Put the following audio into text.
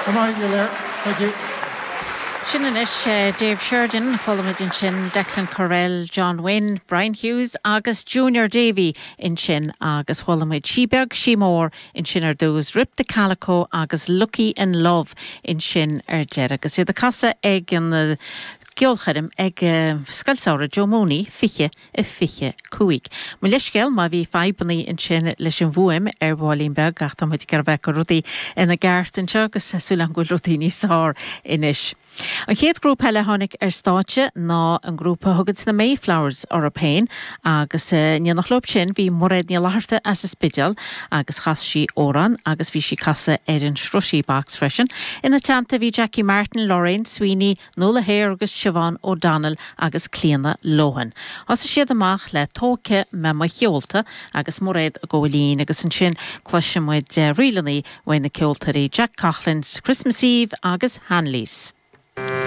Thank you. Sin anois Dave Sheridan, chuala muid ansin Declan Courell, John Wynne, Brian Hughes agus Junior Davey ansin agus chuala muid Sí Beag Sí Mór ansin ar dtús, Rip the Calico agus Lucky in Love ansin ar deireadh agus iad ag casadh ag an gceolchoirm ag Scoil Samhraidh Joe Mooney 20 25. Mo leithscéal má bhí fadhbannaí ansin leis an bhfuaim ar bhaillín beag ach tá muid ag iarraidh a bheith ag cur rudaí ina gceart anseo agus tá súil agam go bhfuil rudaí níos fearr anois. An chéad ghrúpa eile a tháinig ar stáitse ná an grúpa a thuganns na Mayflowers orthu féin agus in éineacht leo sin bhí Mairéad Ní Fhlatharta as an Spidéal agus chas sí amhrán agus bhí sí ag casadh ar an sruthí box freisin. Ina teannta bhí Jackie Martin, Lorraine Sweeney, Nuala Hare agus Siobhán O'Donnell agus Clíona Lohan. Thosaigh siad amach le Tógfaidh Mé Mo Sheolta agus Mairéad ag gabháil fhoinn agus ansin cloisfidh muid ríleanna uaidh na ceoltóirí Jack Coughlan, Christmas Eve agus Hanleys.